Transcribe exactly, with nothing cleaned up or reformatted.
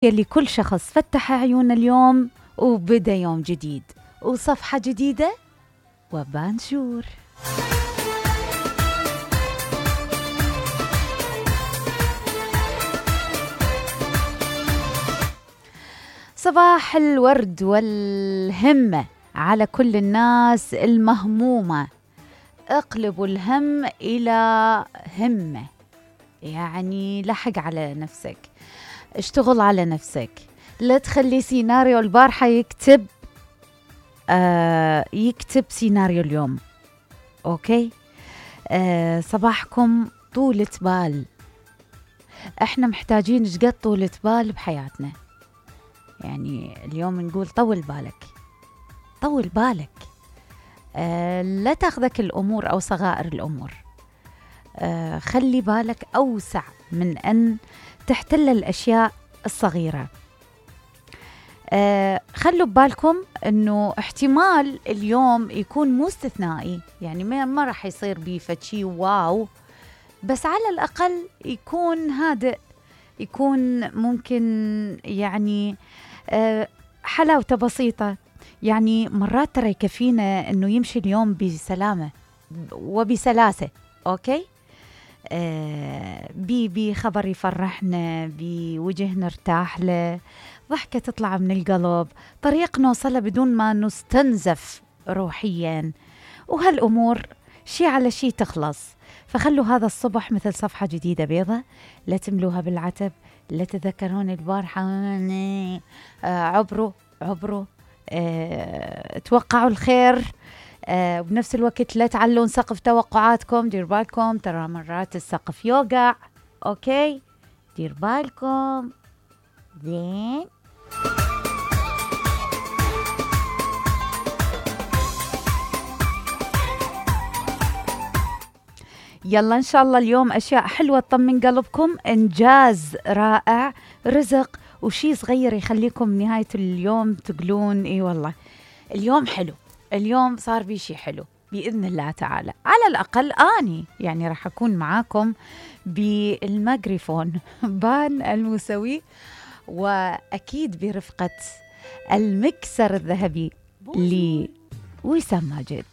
يلي كل شخص فتح عيونه اليوم وبدأ يوم جديد وصفحة جديدة وبانشور. صباح الورد والهمة على كل الناس المهمومة. اقلبوا الهم إلى همة، يعني لحق على نفسك، اشتغل على نفسك، لا تخلي سيناريو البارحة يكتب آه يكتب سيناريو اليوم. أوكي، آه صباحكم طولة بال. احنا محتاجين شقد طولة بال بحياتنا. يعني اليوم نقول طول بالك، طول بالك، آه لا تاخذك الأمور أو صغائر الأمور. آه خلي بالك أوسع من أن تحتل الأشياء الصغيرة. آه خلوا ببالكم أنه احتمال اليوم يكون مو استثنائي، يعني ما, ما راح يصير بيه فشي واو، بس على الأقل يكون هادئ، يكون ممكن يعني آه حلاوته بسيطة. يعني مرات ترى يكفينا أنه يمشي اليوم بسلامة وبسلاسة. أوكي، آه بي بي خبر يفرحنا، بوجه نرتاح له، ضحكة تطلع من القلب، طريق نوصله بدون ما نستنزف روحيا، وهالأمور شي على شي تخلص. فخلوا هذا الصبح مثل صفحة جديدة بيضة، لا تملوها بالعتب، لا تذكرون البارحة، آه عبروا عبروا، آه توقعوا الخير، آه وبنفس الوقت لا تعلون سقف توقعاتكم. دير بالكم ترى مرات السقف يوقع. أوكي، دير بالكم. زين، يلا إن شاء الله اليوم أشياء حلوة تطمن قلبكم، إنجاز رائع، رزق، وشي صغير يخليكم نهاية اليوم تقولون إيه والله اليوم حلو، اليوم صار بي شي حلو بإذن الله تعالى. على الأقل آني يعني راح أكون معاكم بالميكروفون بان الموسوي، وأكيد برفقة المكسر الذهبي لوسام ماجد.